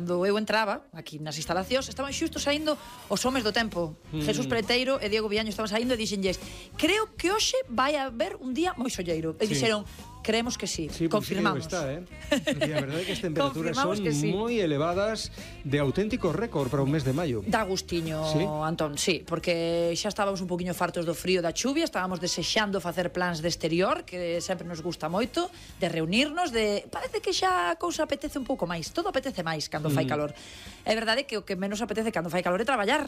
cando eu entraba aquí nas instalacións, estaban xusto saindo os homes do tempo. Jesús Peleteiro e Diego Villaño estaban saindo e dixenlles: creo que hoxe vai haber un día moi solleiro. E dixeron: creemos que sí, confirmamos. Está, E a verdade é que as temperaturas son moi elevadas, de auténtico récord para un mes de maio. Da gustiño, Antón, sí, porque xa estábamos un poquinho fartos do frío, da chuvia, estábamos desexando facer plans de exterior, que sempre nos gusta moito, de reunirnos, parece que xa a cousa apetece un pouco máis, todo apetece máis cando fai calor. É verdade que o que menos apetece cando fai calor é traballar.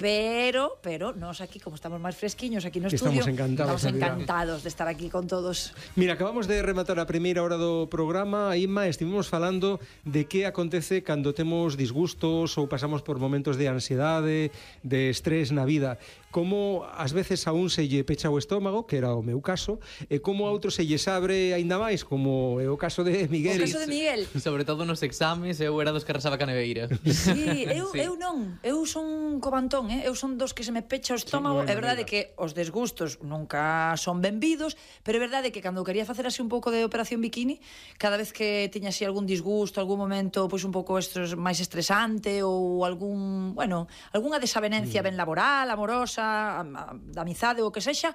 Pero nós aquí, como estamos máis fresquiños aquí no estudio, estamos encantados de estar aquí con todos. Mira, acabamos de rematar a primeira hora do programa. Inma, estivemos falando de que acontece cando temos disgustos ou pasamos por momentos de ansiedade, de estrés na vida. Como ás veces a un se lle pecha o estómago, que era o meu caso, e como a outro se lle abre aínda máis, como é o caso de Miguel. O caso de Miguel. Sobre todo nos exames, eu era dos que arrasaba ca neveira. Sí, eu non. Eu son cobantón, eu son dos que se me pecha o estómago. É verdade que os desgustos nunca son benvidos, pero é verdade que cando quería facer así un pouco de operación bikini, cada vez que tiña así algún disgusto, algún momento pois un pouco máis estresante ou algunha desavenencia ben laboral, amorosa, da amizade ou o que sexa,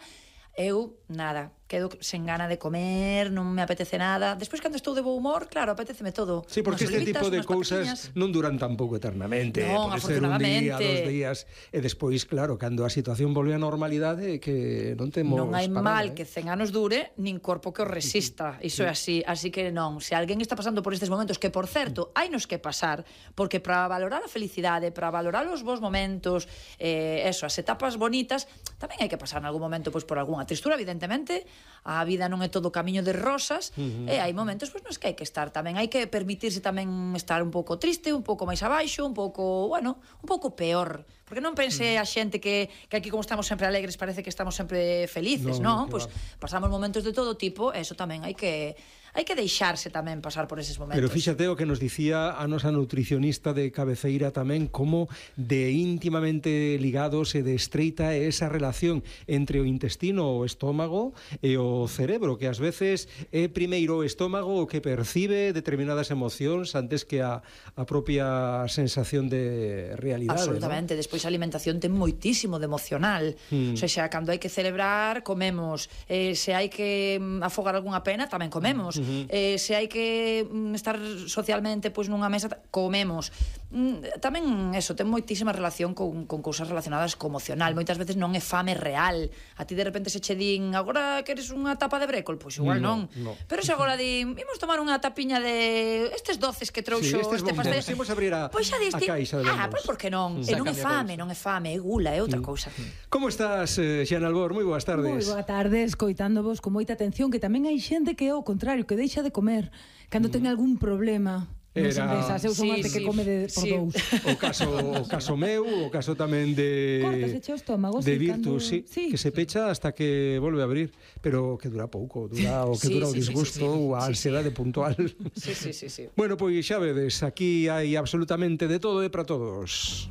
eu, nada, quedo sen gana de comer, non me apetece nada. Despois, cando estou de bo humor, claro, apeteceme todo. Sí, porque este tipo de cousas non duran tampouco eternamente. Non, afortunadamente. Un día, 2 días, e despois, claro, cando a situación volve á normalidade, que non temos non hai mal que 100 anos dure, nin corpo que o resista. Iso é así. Así que non, se alguén está pasando por estes momentos, que, por certo, hainos que pasar, porque para valorar a felicidade, para valorar os bons momentos, as etapas bonitas, tamén hai que pasar en algún momento pois por algunha tristura, evidentemente. A vida non é todo camiño de rosas, e hai momentos pois nos que hai que estar tamén, hai que permitirse tamén estar un pouco triste, un pouco máis abaixo, un pouco peor, porque non pense a xente que aquí, como estamos sempre alegres, parece que estamos sempre felices, non? Pois pasamos momentos de todo tipo, e eso tamén hai que deixarse tamén pasar por eses momentos. Pero fíxate o que nos dicía a nosa nutricionista de cabeceira tamén, como de íntimamente ligados e de estreita é esa relación entre o intestino, o estómago e o cerebro, que ás veces é primeiro o estómago o que percibe determinadas emocións antes que a propia sensación de realidade. Absolutamente, ¿no? Despois a alimentación ten moitísimo de emocional. O sea, cando hai que celebrar, comemos. Se hai que afogar algunha pena, tamén comemos. Se hai que estar socialmente pois nunha mesa, comemos. Tamén eso, ten moitísima relación con cousas relacionadas co emocional. Moitas veces non é fame real. A ti de repente se che din: agora queres unha tapa de brécol? Pois igual non. Pero se agora din: imos tomar unha tapiña de estes doces que trouxo este pastel. Imos abrir a caixa de bombons. Pois por que non? E non é fame, é gula, é outra cousa. Como estás, Xana Albor? Moi boas tardes. Moi boa tarde, escoitándovos con moita atención, que tamén hai xente que é o contrario, que deixa de comer cando ten algún problema. Eu son ante que come por dous. O caso meu, o caso tamén de Virtus, que se pecha hasta que volve a abrir, pero que dura pouco, dura o que dura o disgusto ou a ansiedade puntual. Sí. Bueno, pois xa vedes, aquí hai absolutamente de todo e para todos.